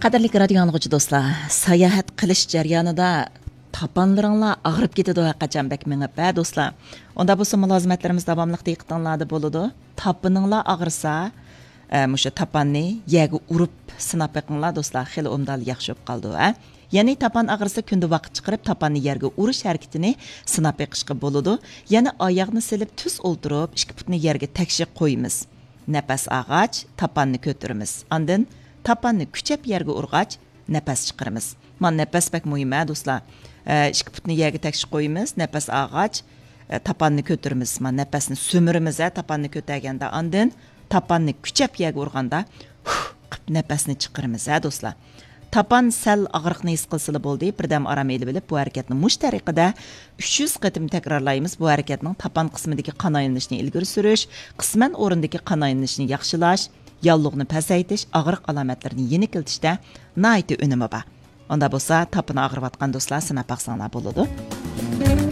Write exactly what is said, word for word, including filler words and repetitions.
قەدىرلىك رادىيو ئاڭلىغۇچى دوستلار، ساياھەت قىلىش جەريانىدا تاپانلىرىڭلار ئاغرىپ كېتىدۇ ھەرقاچان بەك مېڭىپ، ھە دوستلار؟ ئۇندا بولسا مۇلازىمەتلىرىمىز داۋاملىق دىققىتىڭلاردا بولىدۇ. تاپىنىڭلار ئاغرىسا، ئە، مۇشۇ تاپاننى يەرگە ئۇرۇپ سىناپ بېقىڭلار دوستلار، خېلى ئوبدانلا ياخشى بولۇپ قالىدۇ، ھە. يەنى تاپان ئاغرىسا كۈندە ۋاقىت چىقىرىپ تاپاننى يەرگە ئۇرۇش ھەرىكىتىنى سىناپ بېقىشقا بولىدۇ. يەنى ئاياغنى سېلىپ تۈز ئولتۇرۇپ ئىككى پۇتنى يەرگە تەكشى قويىمىز. نەپەس ئالغاچ تاپاننى كۆتۈرىمىز. ئاندىن تاپاننى كۈچەپ يەرگە ئۇرغاچ نەپەس چىقىرىمىز. مانا نەپەس بەك مۇھىم ھە دوستلار. ئە، ئىككى پۇتنى يەرگە تەكشى قويىمىز، نەپەس ئالغاچ، ئە، تاپاننى كۆتۈرىمىز. مانا نەپەسنى سۈمۈرىمىز ھە تاپاننى كۆتەرگەندە. ئاندىن تاپاننى كۈچەپ يەرگە ئۇرغاندا ھۇھ قىپ نەپەسنى چىقىرىمىز ھە دوستلار. تاپان سەل ئاغرىقنى ھېس قىلسىلا بولدى، بىردەم ئارام ئېلىۋېلىپ بۇ ھەرىكەتنى مۇشۇ تەرىقىدە ئۈچ يۈز قېتىم تەكرارلايمىز. بۇ ھەرىكەتنىڭ تاپان قىسمىدىكى قان ئايلىنىشنى ئىلگىرى سۈرۈش، قىسمەن ئورۇندىكى قان ئايلىنىشنى ياخشىلاش، ياللۇغنى پەسەيتىش، ئاغرىق ئالامەتلىرىنى يېنىكلىتىشتە ناھايىتى ئۈنۈمى بار. ئۇندا بولسا تاپىنى ئاغرىۋاتقان دوستلار سىناپ باقساڭلار بولىدۇ.